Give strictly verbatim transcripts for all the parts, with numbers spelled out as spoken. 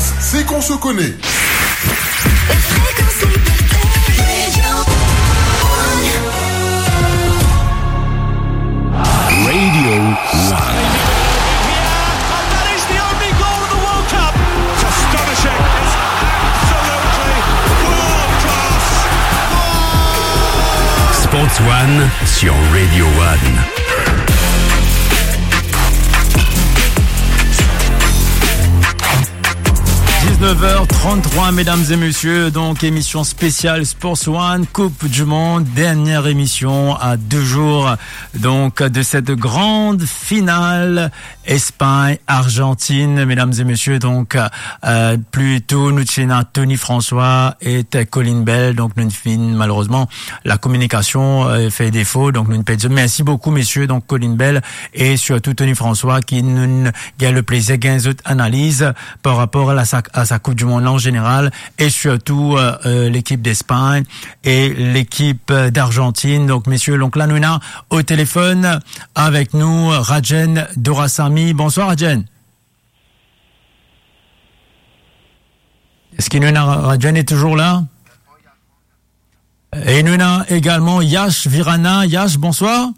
C'est qu'on se connaît. Fréquence Liberté. Radio One. Radio One. And that is the only goal of the World Cup. Astonishing. It's absolutely world class. Sports One sur Radio One. Dix-neuf heures trente-trois, mesdames et messieurs, donc émission spéciale Sports One, Coupe du Monde, dernière émission à deux jours donc de cette grande finale Espagne-Argentine, mesdames et messieurs. Donc, euh, pli to nou ti ena Tony François ek Colin Bell, donc nou finn, malerezman, la kominikasion, euh, fer defo, donc nou pe dir mersi boukou, mesier, donc Colin Bell e sirtou Tony François ki nou gagn le plezir gagn zot analiz par rapor a sa, a sa Coupe du Monde la an zeneral, e sirtou, euh, euh, lekip d'Espagne e lekip, euh, d'Argentine. Donc, mesier, donc la nou ena o telefonn avek nou Rajen Doraisamy. Bonswar, Rajen. Eski nou ena Ra-, Rajen est toujours là? E nou ena egalman Yash Virana. Yash, bonswar.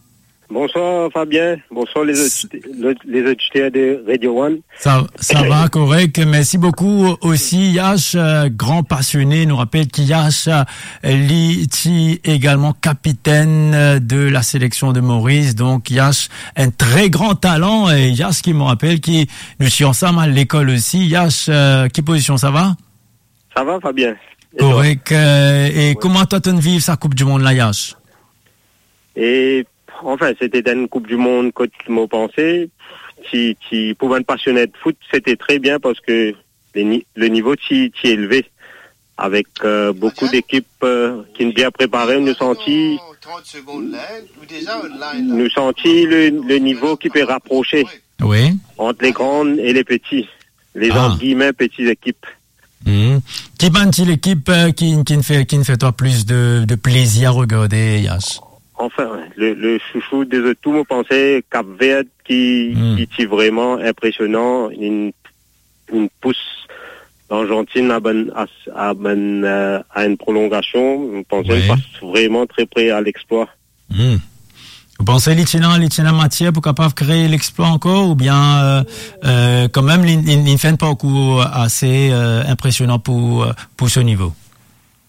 Bonswar Fabien, bonswar les audite-, le-, les auditeurs de Radio One. Sa, sa va, korek. Mersi boukou osi, Yash, euh, gran pasione. Nou rapel ki Yash, euh, li ti egalman kapitenn, euh, de la seleksion de Moris. Donk, Yash, enn tre gran talan. E Yash ki, mo rapel ki nou ti ansam al lekol osi. Yash, euh, ki pozision, sa va? Sa va, Fabien. E twa? Korek. Euh, e kouma twa to'nn viv sa Coupe du Monde la, Yash? E, anfin, se ti enn Coupe du Monde kot mo panse, ti, ti, pou bann pasione foot, se ti tre bien parski le ni-, le nivo ti, ti elve. Avek, euh, boukou dekip, euh, ki'nn bien prepare, nou santi, nou santi le, le nivo ki pe raprose, wi, ant le gran e le peti, le, ah, ant gilme, peti lekip. Hmm. Ki bann ti lekip, euh, ki, ki'nn fer, ki'nn fer twa plis de, de plezir a regarde, Yash? Anfin, le, le chouchou de zot tou, mo panse, Cap Vert ki, hmm, ki ti vreman inpresionan, inn, inn pous Largentinn a bann, a, a bann, euh, a enn prolongasion. Mo panse, wi, li pas vreman tre pre a lexplwa. Hmm. Ou panse li ti ena, li ti ena matier pou kapav kree lexplwa ankor, oubien, euh, euh, kanmem, li, li, li fer enn parkour ase, euh, inpresionan pou, euh, pou so nivo?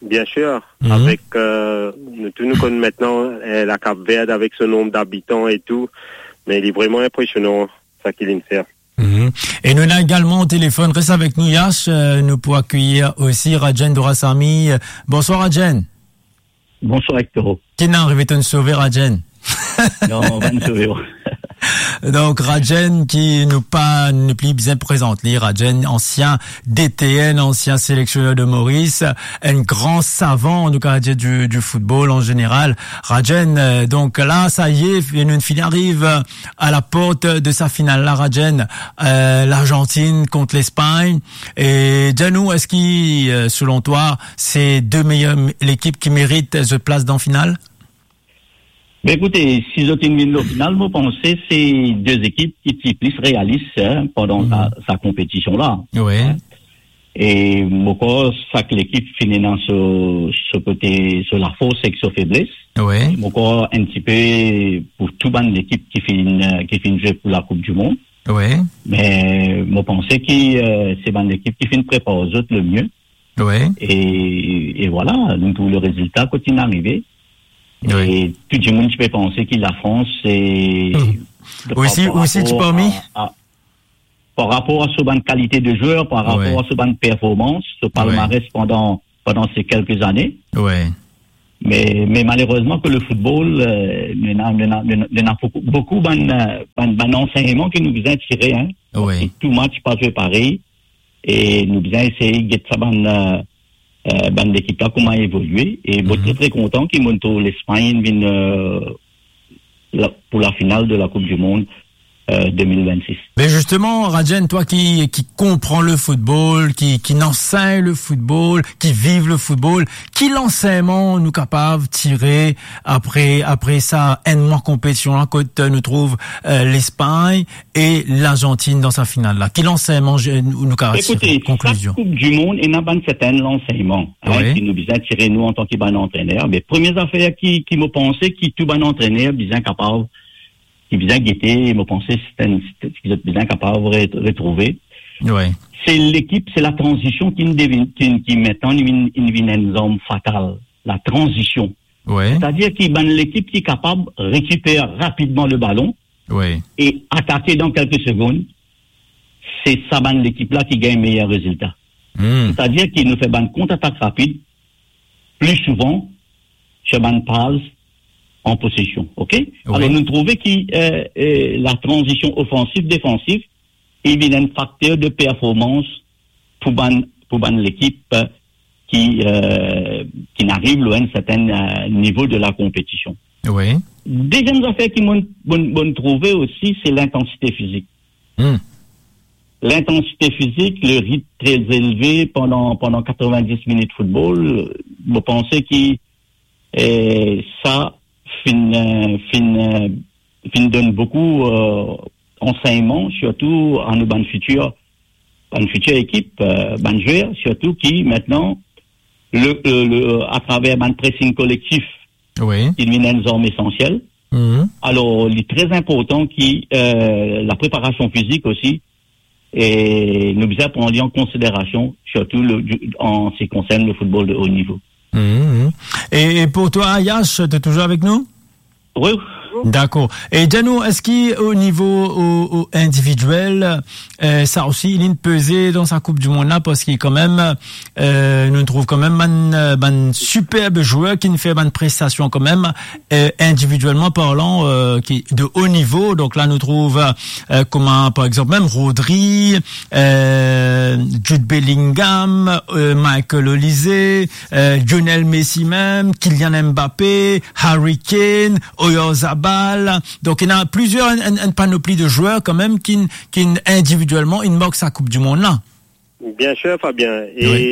Bien sir, mhm, avek, euh, nou tou nou konn aster, euh, la Cap Vert avek so nonb dabitan e tou, me li vreman inpresionan, sa ki li'nn fer. Mhm. E nou ena egalman o telefonn, res avek nou, Yash, euh, nou pou akeyir osi Rajen Doraisamy. Bonswar, Rajen. Bonswar, Hector. Ki'nn arive, to'nn sove Rajen? Non, mo pa'nn sove. Donk, Rajen ki nou pa, nou pli bizin prezant li, Rajen, ansien D T N, ansien seleksioner de Moris, enn gran savan, nou kapav dir, du, du football an zeneral. Rajen, euh, donk la, sa y est, nou finn ariv, euh, a la port de sa final la, Rajen, euh, Largentinn kont Lespagn. E dir nou, eski, euh, selon twa, se de meyer lekip ki merit zot plas dan final? Ben, ekoute, si zot inn vinn lor final, mo panse se de lekip ki ti plis realis, hein, pandan sa, mhm, sa konpetision la. Wi. Hein? E mo krwar sak lekip finn ena so, so kote, so lafors ek so febles. Wi. Mo krwar enn tipe pou tou bann lekip ki finn, ki finn zwe pou la Coupe du Monde. Wi. Me mo panse ki, euh, se bann lekip ki finn prepar zot lemie. Wi. E, e vwala, nou trouv le rezilta kot inn arive. Wi. E tou dimoun ti pe panse ki Lafrans, se, hmm, par, osi, par osi ti rapor parmi a, a, par rapor a so bann kalite de zwer, par, wi, rapor a so bann performans, so, wi, palmares pandan, pandan se kelke zane. Wi. Me, me malerezman ke le football, euh, nou ena, nou ena, nou ena, nou ena boukou, boukou bann, euh, bann, bann ansegnman ke nou bizin tire, hein. Wi. Parski tou match pa zwe parey, e nou bizin esey get sa bann, euh, euh, bann lekip la kouma evolie. E mo, mhm, tre, tre kontan ki mo trouv Lespagn vinn, euh, la, pou la final de la Coupe du Monde, euh, deux mille vingt-six. Mais justement, Rajen, toi qui, qui comprends le football, qui, qui enseigne le football, qui vive le football, ki lansegnman nou kapav tire apre, apre sa enn mwa konpetision la, kot nou trouv, euh, Lespagn e Larzantin dan sa final la? Ki lansegnman, je, nou, nou kapav tire? Ekoute, sak Koup di Mond ena bann serten lansegnman, hein, wi, ki nou bizin tire nou antan ki bann antrener. Me premie zafer ki, ki mo panse ki tou bann antrener bizin kapav ki bizin gete, mo panse, se enn, se, se ki zot bizin kapav re-, retrouve. Wi. Se lekip, se latranzision ki devinn, ki, ki mintnan, li vinn, li vinn enn zarm fatal. Latranzision. Wi. Setadir ki bann lekip ki kapav rekiper rapidman le balon, wi, e atake dan kelke segonn, se sa bann lekip la ki gagn meyer rezilta. Hmm. Setadir ki nou fer bann kontratak rapid, pli souvan, fer bann pas an posesion, ok? Wi. Alor, nou trouve ki, euh, euh, latranzision ofansif, defansif, li vinn enn fakter de performans pou bann, pou bann lekip, euh, ki, euh, ki ariv lor enn serten, euh, nivo de la konpetision. Wi. Deziem zafer ki mo, mo, mo trouve osi, se lintansite fizik. Hmm. Lintansite fizik, le ritm tre elve pandan, pandan katrevin-dis minit foutbol, mo panse ki, eh, sa finn, eh, finn, eh, finn donn boukou, eh, ansegnman, sirtou a nou bann fitir, bann fitir ekip, eh, bann zwer, sirtou ki mintnan, le, le, le, atraver bann pressing kolektif, wi, ki vinn enn zarm esansiel. Mhm. Alor, li tre inportan ki, eh, lapreparasion fizik osi, e nou bizin pran li an konsiderasion, sirtou le, an se ki konsern le foutbol de o nivo. Mhm, mhm. E, e pou twa, Yash, t'es toujours avec nous? Wi. Dakor. E dir nou, eski o nivo, o, o individiel, eh, sa osi, li peze dan sa Koup di Mond la, parski kanmem, eh, nou trouv kanmem bann, eh, bann siperb zwer ki fer bann prestasion kanmem, eh, individielman parlan, eh, ki de o nivo. Donk la, nou trouv, eh, kouma, par exanp, mem Rodri, eh, Jude Bellingham, eh, Michael Olise, eh, Lionel Messi mem, Kylian Mbappé, Harry Kane, Oyarzabal. Donk, ena plizier, enn, enn, enn panopli de zwer kanmem ki, ki individielman, inn mark sa Koup di Mond la. Bien sir, Fabien. E wi,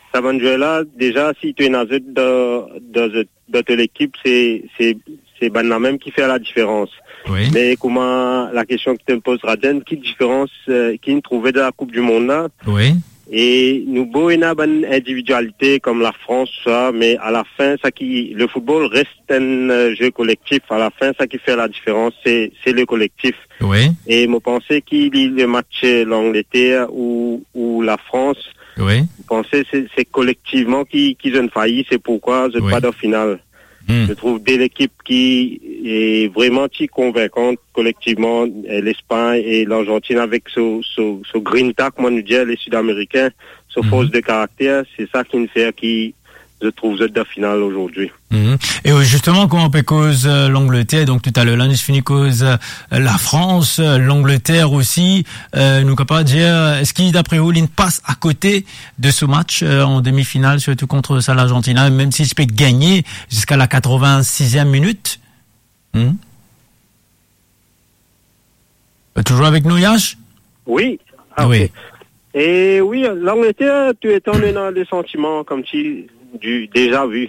sa bann zwer la, deza, si to ena zot dan, dan zot, dan to lekip, se, se, se bann la mem ki fer ladiferans. Wi. Me kouma lakestion ki to poz, Rajen, ki diferans, eh, ki inn trouve dan la Koup di Mond la? Wi. E nou bo ena bann individialite kom Lafrans, sa, me alafin, sa ki, le foutbol res enn, eh, ze kolektif. Alafin, sa ki fer ladiferans, se, se le kolektif. Wi. E mo panse ki li, le match, eh, Langleter ou, ou Lafrans, wi, mo panse se, se kolektivman ki, ki zot inn fayi, se poukwa zot, wi, pa dan final. Hmm. Mo trouv de lekip ki, eh, vreman ti konvinkan kolektivman, eh, Lespagn e Larzantin avek so, so, so grinta, kouma nou dir, le Sid Amerikin, so, mhm, fors de karakter, se sa ki inn fer ki zot trouv zot dan final azordi. Mhm. E, euh, zisteman, kouma nou pe koz, euh, Langleter, donk toutaler la, nou fini koz, euh, Lafrans, euh, Langleter osi, euh, nou kapav dir, eski dapre ou, li pas akote de so match, euh, an demi-final, sirtou kont sa Larzantin, mem si li pe gagne ziska la katrevin-siziem minit? Hmm? Euh, toujours avec nous, Yash? Wi. Ah, wi, ok. E wi, Langleter, touletan nou ena le santiman koumsi du déjà vu.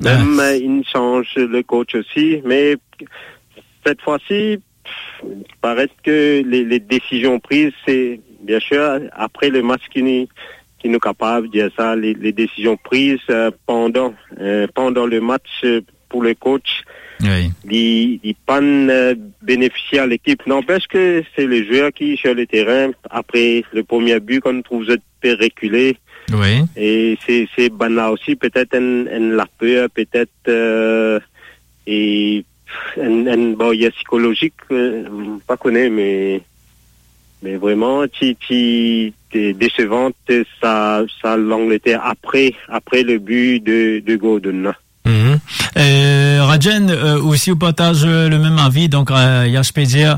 Mem, ah, euh, inn sanz le coach osi, me set fwa si, paret ke le, le desizion priz, se, bien sir, apre le match ki nou, ki nou kapav dir sa, le, le desizion priz, euh, pandan, euh, pandan le match, euh, pou le coach, wi, li, li pa'nn, euh, benefisie a lekip. Nanpes ke se le zwer ki sir le terin, apre le premie bi, kan nou trouv zot pe rekile. Wi. E se, se bann la osi, petet enn, enn laper, petet, euh, e enn, enn baryer sikolozik, euh, pa kone, me, me vreman, ti, ti, ti desevan, sa, sa Langleter apre, apre le bi de, de Gordon la. Mhm. Euh, Rajen, euh, osi ou partaz, euh, le mem avi, donk, euh, Yash pe dir,